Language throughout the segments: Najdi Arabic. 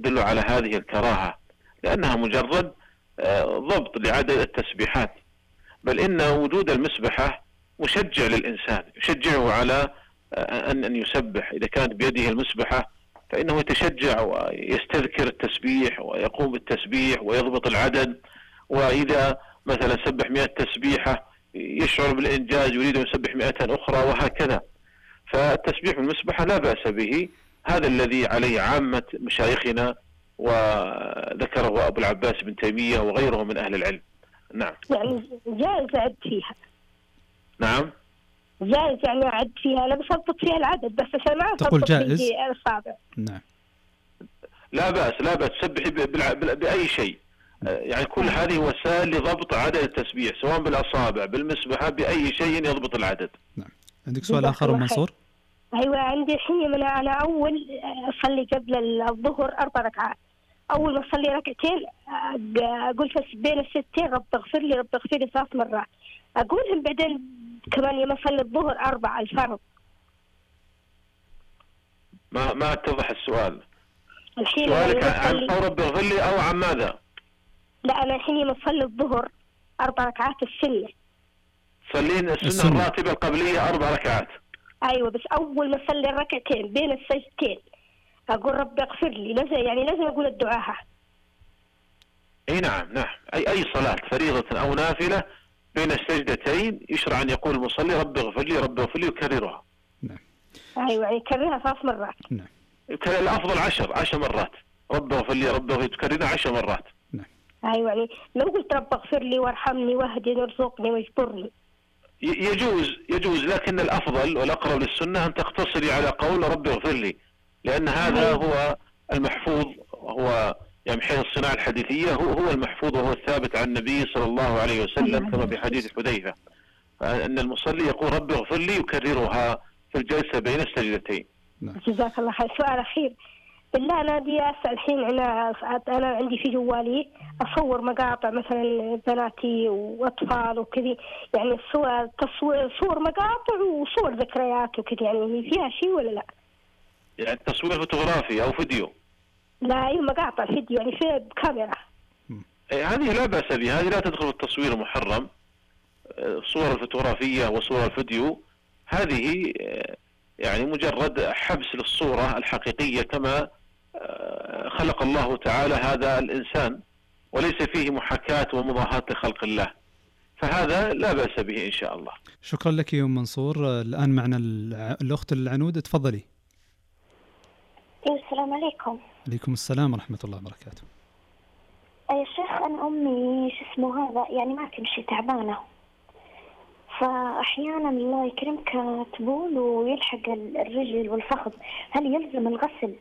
تدل على هذه الكراهة، لأنها مجرد ضبط لعدد التسبيحات، بل إن وجود المسبحة مشجع للإنسان، يشجعه على أن يسبح. إذا كانت بيده المسبحة فإنه يتشجع ويستذكر التسبيح ويقوم بالتسبيح ويضبط العدد. وإذا مثلا سبح 100 تسبيحة يشعر بالإنجاز، يريد أن يسبح 100 أخرى، وهكذا. فالتسبيح بالمسبحة لا بأس به، هذا الذي عليه عامة مشايخنا، وذكره أبو العباس بن تيمية وغيره من أهل العلم. نعم. يعني جائز أعد فيها؟ نعم جائز يعني أعد فيها، أنا بسبط فيها العدد بس عشان ما تقول جائز؟ الأصابع. نعم لا بأس، لا بأس تسبحي بأي شيء، يعني كل هذه وسائل لضبط عدد التسبيح، سواء بالأصابع بالمسبحة بأي شيء يضبط العدد. نعم. عندك سؤال آخر منصور؟ أيوة عندي الحين. أنا أول أصلي قبل الظهر 4 ركعات، أول ما أصلي ركعتين أقول بين الستين رب اغفر لي رب اغفر لي 3 مرات، أقولهم بعدين كمان يوم أصلي الظهر 4 الفرض. ما اتضح السؤال. الحين سؤالك عن رب اغفر لي أو عن ماذا؟ لا أنا الحين يوم أصلي الظهر 4 ركعات السنة. صلين السنة الراتبة القبلية 4 ركعات. أيوة بس أول ما أصلي الركعتين بين السجدتين أقول رب اغفر لي، لازم أقول الدعاء. أي نعم أي صلاة فريضة أو نافلة بين السجدتين يشرع أن يقول المصلي رب اغفر لي رب اغفر لي ويكررها. نعم. أيوة يعني يكررها 3 مرات. نعم. الأفضل 10 مرات، رب اغفر لي رب اغفر لي تكررها 10 مرات. نعم. أيوة يعني لو قلت رب اغفر لي وارحمني واهدني وارزقني واجبرني يجوز، لكن الأفضل والأقرب للسنة أن تقتصري على قول رب اغفر لي، لأن هذا هو المحفوظ، هو يعني حيث الصناعة الحديثية هو المحفوظ وهو الثابت عن النبي صلى الله عليه وسلم، كما في حديث حذيفة أن المصلي يقول رب اغفر لي يكررها في الجلسة بين السجدتين. جزاك الله خير. سؤال أخير بالله، أنا بدي أسأل الحين. أنا عندي في جوالي أصور مقاطع مثلا بناتي وأطفال وكذي، يعني صور مقاطع وصور ذكريات وكذي، يعني فيها شيء ولا لا؟ يعني تصوير فوتوغرافي أو فيديو؟ لا أي مقاطع فيديو يعني في بكاميرا. هذه لا بأس بها، هذه لا تدخل في التصوير المحرم. الصور الفوتوغرافية وصور الفيديو هذه يعني مجرد حبس للصورة الحقيقية كما خلق الله تعالى هذا الإنسان، وليس فيه محاكاة ومضاهاة لخلق الله، فهذا لا بأس به إن شاء الله. شكرا لك يا أم منصور. الآن معنا الأخت العنود، تفضلي. السلام عليكم. عليكم السلام ورحمة الله وبركاته. يا شيخ أنا أمي هذا يعني ما تمشي، تعبانة، فأحيانا الله يكرمك تبول ويلحق الرجل والفخذ، هل يلزم الغسل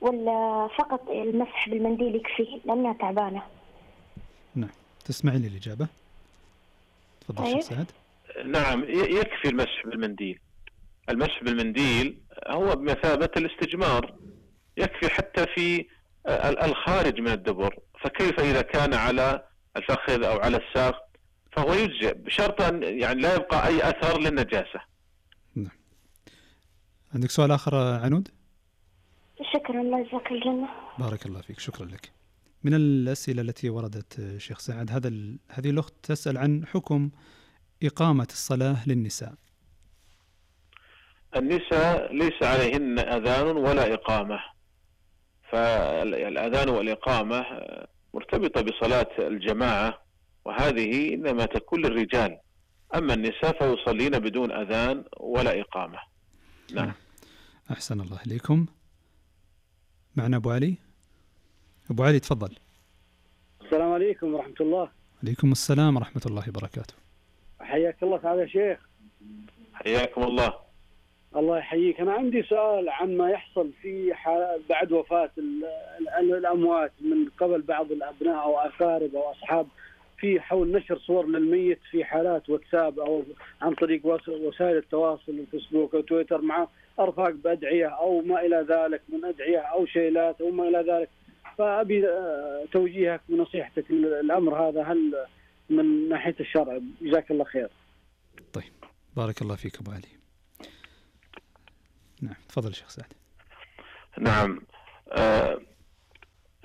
ولا فقط المسح بالمنديل يكفي لأنها تعبانة؟ نعم تسمعي لي الإجابة؟ تفضل شيخ سعد. نعم يكفي المسح بالمنديل. المسح بالمنديل هو بمثابة الاستجمار، يكفي حتى في الخارج من الدبر، فكيف إذا كان على الفخذ أو على الساق فهو يجزئ بشرط أن يعني لا يبقى أي أثر للنجاسة. نعم. عندك سؤال آخر عنود؟ شكرا، الله يجزاك الجنة. بارك الله فيك، شكرا لك. من الأسئلة التي وردت شيخ سعد، هذه الأخت تسأل عن حكم إقامة الصلاة للنساء. النساء ليس عليهن أذان ولا إقامة، فالأذان والإقامة مرتبطة بصلاة الجماعة، وهذه إنما تكون للرجال، أما النساء فيصلين بدون أذان ولا إقامة. نعم. أحسن الله إليكم. معنا أبو علي. أبو علي تفضل. السلام عليكم ورحمة الله. عليكم السلام ورحمة الله وبركاته. حياك الله تعالى يا شيخ. حياكم الله. الله يحييك. أنا عندي سؤال عن ما يحصل في بعد وفاة الأموات من قبل بعض الأبناء أو أقارب أو أصحاب، في حول نشر صور للميت في حالات واتساب أو عن طريق وسائل التواصل الفيسبوك أو تويتر مع أرفاق بأدعية أو ما إلى ذلك من أدعية أو شيلات أو ما إلى ذلك، فأبي توجيهك ونصيحتك الأمر هذا هل من ناحية الشرع؟ جزاك الله خير. طيب بارك الله فيك أبو علي. نعم تفضل شيخ سعد. نعم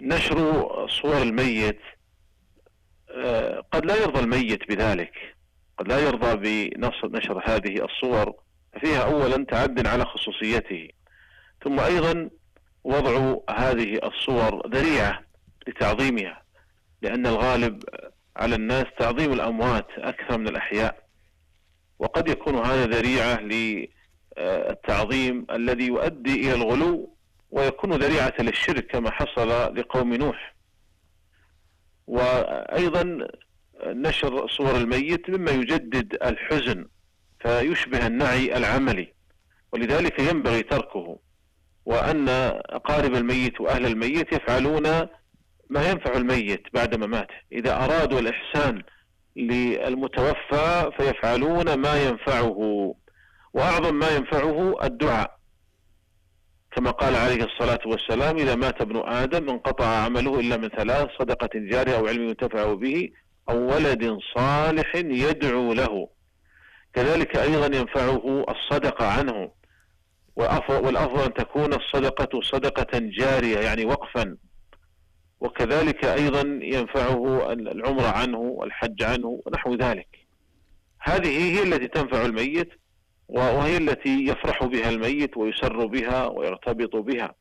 نشر صور الميت قد لا يرضى الميت بذلك، قد لا يرضى بنشر هذه الصور، فيها أولا تعد على خصوصيته، ثم أيضا وضع هذه الصور ذريعة لتعظيمها، لأن الغالب على الناس تعظيم الأموات أكثر من الأحياء، وقد يكون هذا ذريعة للتعظيم الذي يؤدي إلى الغلو ويكون ذريعة للشرك كما حصل لقوم نوح. وأيضا نشر صور الميت مما يجدد الحزن فيشبه النعي العملي، ولذلك ينبغي تركه، وأن أقارب الميت وأهل الميت يفعلون ما ينفع الميت بعد مماته. إذا أرادوا الإحسان للمتوفى فيفعلون ما ينفعه، وأعظم ما ينفعه الدعاء، كما قال عليه الصلاة والسلام: إذا مات ابن آدم انقطع عمله إلا من ثلاث: صدقة جارية أو علم ينتفع به أو ولد صالح يدعو له. كذلك أيضا ينفعه الصدقة عنه، والأفضل أن تكون الصدقة صدقة جارية يعني وقفا. وكذلك أيضا ينفعه العمرة عنه والحج عنه ونحو ذلك. هذه هي التي تنفع الميت، وهي التي يفرح بها الميت ويسر بها ويرتبط بها.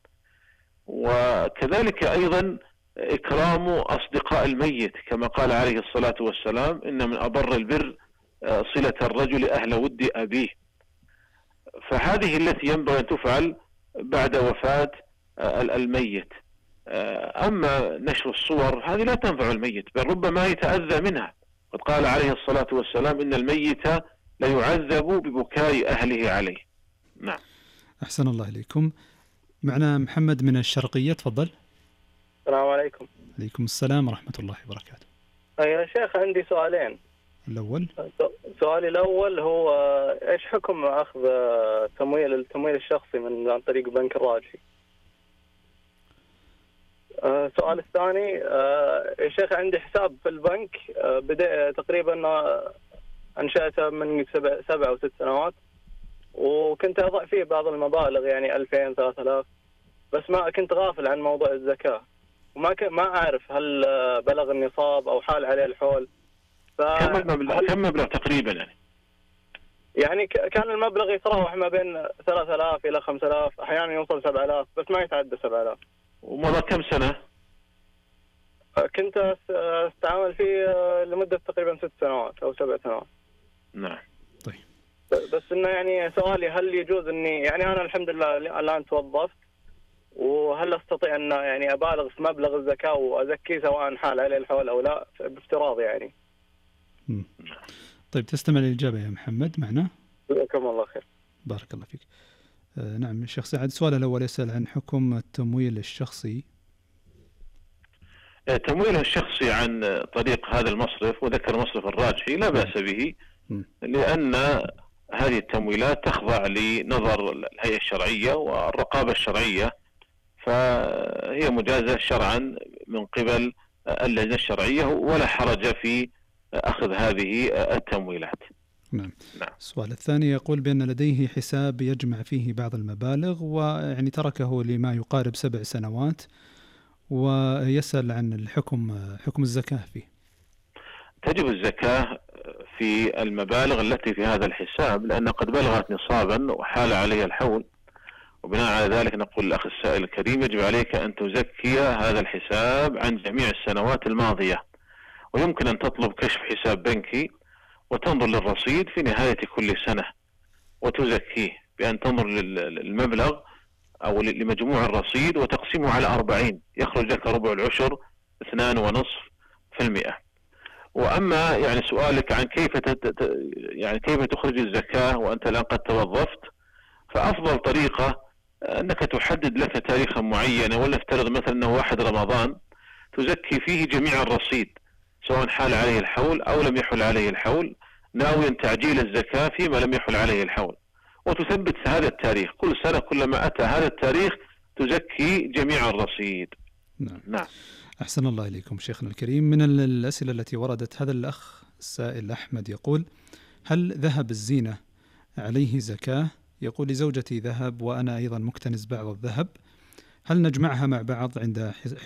وكذلك أيضا إكرام أصدقاء الميت، كما قال عليه الصلاة والسلام: إن من أبر البر صلة الرجل أهل ود أبيه. فهذه التي ينبغي أن تفعل بعد وفاة الميت. أما نشر الصور هذه لا تنفع الميت، بل ربما يتأذى منها. قد قال عليه الصلاة والسلام: إن الميت لا يعذب ببكاء أهله عليه. نعم. أحسن الله إليكم. معنا محمد من الشرقية، تفضل. السلام عليكم. عليكم السلام ورحمة الله وبركاته. يا شيخ عندي سؤالين. الأول، سؤالي الأول هو إيش حكم أخذ التمويل الشخصي عن طريق بنك الراجحي؟ السؤال الثاني، يا شيخ عندي حساب في البنك بدأ تقريبا أنشأته من 7 أو 6 سنوات، وكنت أضع فيه بعض المبالغ يعني 2000 3000، بس ما كنت غافل عن موضوع الزكاة، وما أعرف هل بلغ النصاب أو حال عليه الحول. كم مبلغ تقريبا يعني كان المبلغ يتراوح ما بين 3000 إلى 5000، أحيانا يوصل 7000، بس ما يتعدى 7000. ومضى كم سنة؟ كنت استعمل فيه لمدة تقريبا 6 سنوات أو 7 سنوات. نعم. طيب. بس إنه يعني سؤالي، هل يجوز إني يعني أنا الحمد لله الآن توظفت، وهل أستطيع أن يعني أبالغ في مبلغ الزكاة وأزكيه سواء حال عليه الحول أو لا بافتراض يعني؟ طيب، تستمع للإجابة يا محمد معنا؟ جزاكم الله خير. بارك الله فيك. نعم الشيخ سعد، سؤال الأول يسأل عن حكم التمويل الشخصي. التمويل الشخصي عن طريق هذا المصرف، وذكر مصرف الراجحي، لا بأس به، لأن هذه التمويلات تخضع لنظر الهيئة الشرعية والرقابة الشرعية، فهي مجازة شرعا من قبل اللجنة الشرعية، ولا حرج في أخذ هذه التمويلات. نعم. السؤال الثاني يقول بأن لديه حساب يجمع فيه بعض المبالغ، ويعني تركه لما يقارب 7 سنوات، ويسأل عن حكم الزكاة فيه. تجب الزكاة في المبالغ التي في هذا الحساب، لأن قد بلغت نصابا وحال عليها الحول، وبناء على ذلك نقول للأخ السائل الكريم: يجب عليك أن تزكي هذا الحساب عن جميع السنوات الماضية، ويمكن أن تطلب كشف حساب بنكي وتنظر للرصيد في نهاية كل سنة وتزكيه، بأن تنظر للمبلغ أو لمجموع الرصيد وتقسمه على 40، يخرج لك ربع العشر 2.5%. وأما يعني سؤالك عن كيف تخرج الزكاة وأنت الآن قد توظفت، فأفضل طريقة أنك تحدد لك تاريخا معينا، ولنفترض مثلا أنه 1 رمضان، تزكي فيه جميع الرصيد سواء حال عليه الحول أو لم يحل عليه الحول، ناويا تعجيل الزكاة فيما لم يحل عليه الحول، وتثبت هذا التاريخ كل سنة، كلما أتى هذا التاريخ تزكي جميع الرصيد. نعم. أحسن الله إليكم شيخنا الكريم. من الأسئلة التي وردت، هذا الأخ السائل أحمد يقول: هل ذهب الزينة عليه زكاة؟ يقول: لزوجتي ذهب وأنا أيضا مكتنز بعض الذهب، هل نجمعها مع بعض عند حسبة